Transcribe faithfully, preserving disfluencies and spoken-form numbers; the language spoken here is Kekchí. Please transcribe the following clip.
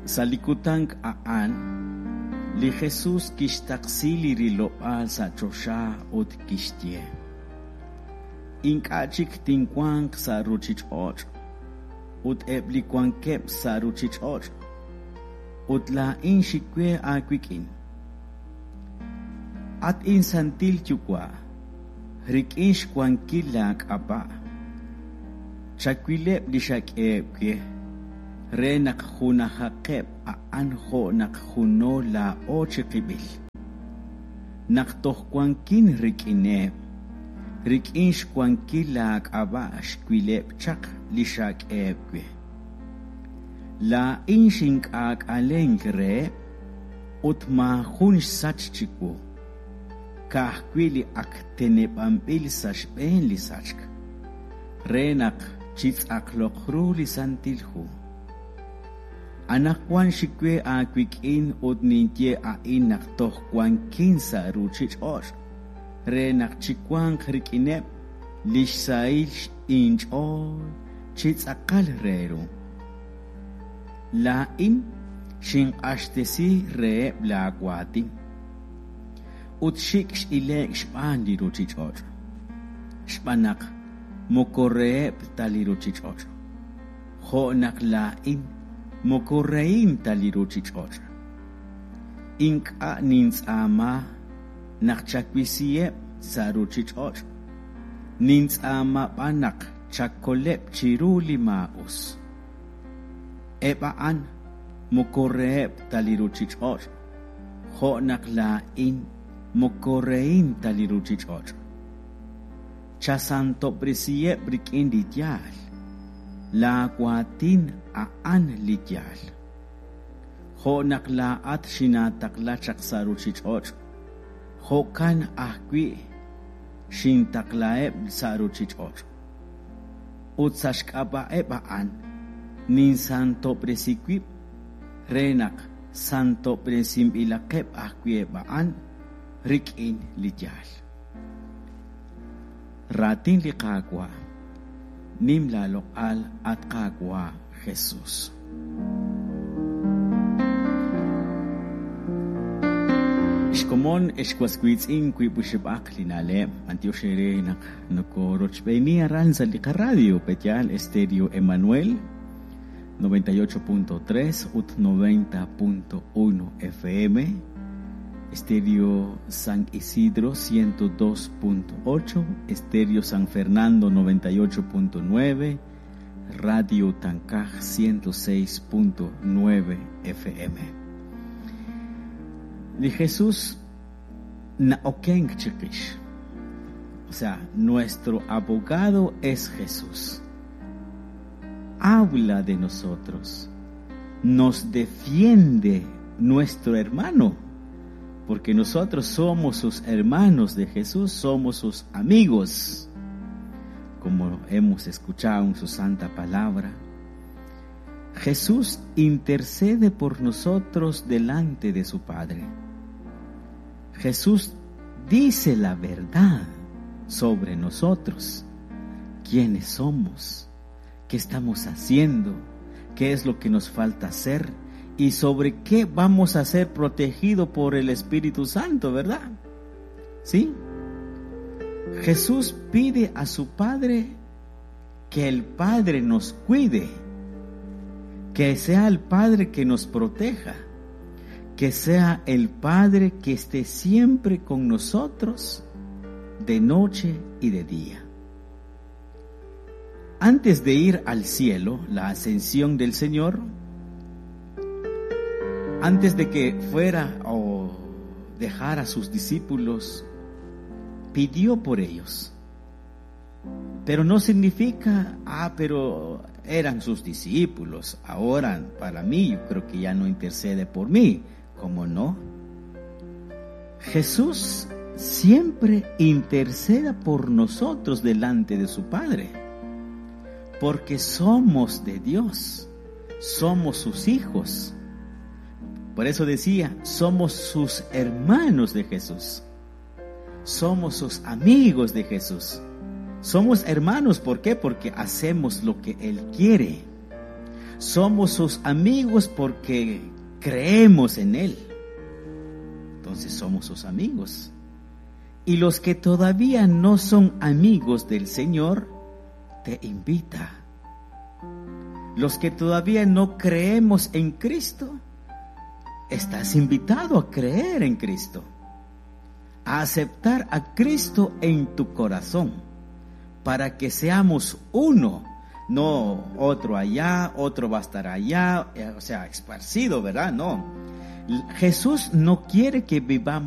Sa' li kutan a'an, li Jesús kixtaqsi li rilob'aal sa' choxa ut kixye: Ink'a' chik tinwanq sa' ruuchich'och' ut eb' li wankeb' sa' ruuchich'och', ut laa'in xik we aawik'in. At insantil Yuwa', rik'in xwankil laak'ab'a', chawileb' li xak'eheb' we, re naq junajaqeb' a'an jo' naq juno laa'o chiqib'il. Naq toj wankin rik'ineb', rik'in xwankil laak'ab'a' xwileb' chaq li xak'eheb' we. Laa'in xink'aak'alenk reheb' ut maajun xsach chiwu, ka'ajwi' li ak teneb'anb'il sa' xb'een li sachk, re naq chitz'aqloq ru li Santil Hu. Anaqwan xik we aawik'in ut ninye a'in naq toj wankin sa' ruuchich'och', re naq chiwanq rik'ineb' li xsahil inch'ool chi tz'aqal re ru. Laa'in xinq'axtesi reheb' laawaatin ut xik' x'ile'k xb'aan li ruuchich'och', xb'aan naq moko reheb' ta li ruuchich'och', jo' naq laa'in moko rehin ta li ruuchich'och'. Ink'a' nintz'aama naq chawisiheb' sa' ruuchich'och', nintz'aama b'an naq chakoleb' chiru li maa'us. Eb' a'an moko reheb' ta li ruuchich'och', jo' naq laa'in moko rehin ta li ruuchich'och'. Chasantob'resiheb' rik'in li yaal, laawaatin a'an li yaal. Jo' naq laa'at xinaataqla chaq sa' ruuchich'och', jo'kan ajwi' xintaqlaheb' sa' ruuchich'och'. Ut sa' xk'ab'a'eb' a'an ninsantob'resi wib' re naq santob'resinb'ilaqeb' ajwi' eb' a'an rik'in li yaal. Raatin li Qaawa', nim laaloq'al at Qaawa' Jesús. Xkomon exwaswiitz'in wiib' oxib'aq li na'leb' b'antiox eere naq nokorochb'eeni aran sa' li qaradio Petyal Estéreo Emanuel noventa y ocho punto tres ut noventa punto uno F M, Estéreo San Isidro ciento dos punto ocho, Estéreo San Fernando noventa y ocho punto nueve, Radio Tancaj ciento seis punto nueve F M. Li Jesús naokenk chiqix. O sea, nuestro abogado es Jesús. Habla de nosotros, nos defiende nuestro hermano, porque nosotros somos sus hermanos de Jesús, somos sus amigos, como hemos escuchado en su santa palabra. Jesús intercede por nosotros delante de su Padre. Jesús dice la verdad sobre nosotros, quiénes somos, qué estamos haciendo, qué es lo que nos falta hacer y sobre qué vamos a ser protegidos por el Espíritu Santo, ¿verdad? ¿Sí? Jesús pide a su Padre que el Padre nos cuide, que sea el Padre que nos proteja, que sea el Padre que esté siempre con nosotros de noche y de día. Antes de ir al cielo, la ascensión del Señor, antes de que fuera o dejara a sus discípulos, pidió por ellos. Pero no significa, ah, pero eran sus discípulos, ahora para mí, yo creo que ya no intercede por mí. ¿Cómo no? Jesús siempre interceda por nosotros delante de su Padre, porque somos de Dios, somos sus hijos. Por eso decía, somos sus hermanos de Jesús, somos sus amigos de Jesús. Somos hermanos, ¿por qué? Porque hacemos lo que Él quiere. Somos sus amigos porque creemos en Él. Entonces somos sus amigos. Y los que todavía no son amigos del Señor, te invita. Los que todavía no creemos en Cristo, estás invitado a creer en Cristo, a aceptar a Cristo en tu corazón, para que seamos uno, no otro allá, otro va a estar allá, eh, o sea, esparcido, ¿verdad? No. Jesús no quiere que vivamos